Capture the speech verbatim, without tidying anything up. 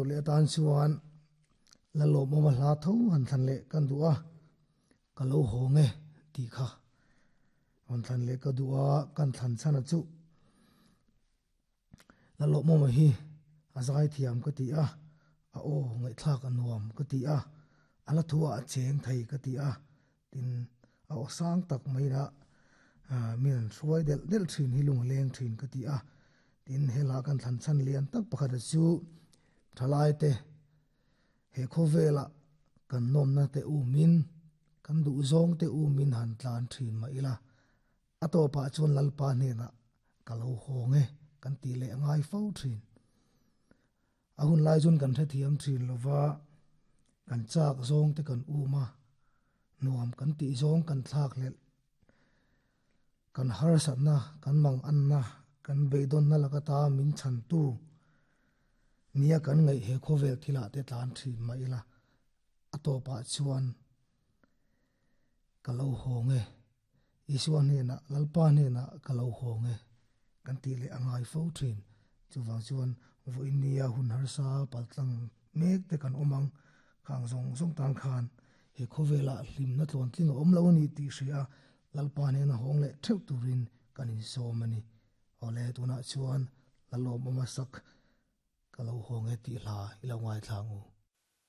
Do le tan chuan la lo mo ma hla tho han thlan le kan duwa ka lo ho nge ti kha on thlan le ka duwa kan thlan chana chu la lo mo ma hi azai thiam ka ti a a o ngai thla ka nuam ka ti a ala thua a cheng thei ka ti a tin a o sang tak mai na min hruai del del thin hi lung leng thin ka ti a tin hela kan thlan chan lian tak pakhat chu thalai te he khovela kan nom na te u min kan du zong te u min han tlan thin ma ila ato pa chun lalpa ne na kalo ho nge kan ti le ngai fo thin a hun lai chun kan the thiam thin lova kan chak zong te kan u ma nuam kan ti zong kan thlak le kan har sat na kan mang an na kan beidon na lakata min chan tu nia kan ngai he khovel thila te tlan thin ma ila ato pa chuan kalo ho nge Isuan he na lalpa ne na kalo ho nge kan ti le angai fo thin chuwang chuan vo inia hun har sa paltlang mek te kan omang khang zong zong tan khan he khovela hlim na tlon tling om lo ni ti hria lalpa ne na hong le theu turin kan in so mani ole tuna chuan lalom oma sak kalo ho nge ti hla ilo ngai thlangu.